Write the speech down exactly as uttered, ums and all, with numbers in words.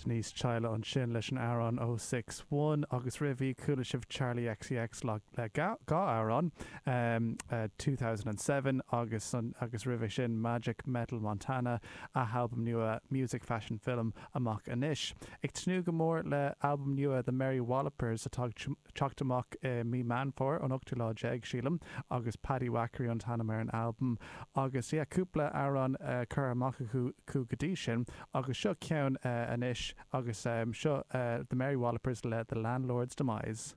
Denise Chaila ansin leis an amhrán oh six one agus roimhe chuala sibh Charli XCX le dhá amhrán um, uh, two thousand and seven agus an, agus roimhe sin Magic Metal Montana a halbam nua Music Fashion Film amach anois. Ag tnúth go mór le albam nua The Mary Wallopers atá ag teacht amach i mí Meán Fómhair an ochtú lá déag sílim agus Paddywhackery an t-ainm ar an albam agus yeah, cúpla amhrán uh, curtha amach acu go dtí sin agus seo ceann uh, anois agus um, seo uh, The Mary Wallopers le The Landlord's Demise.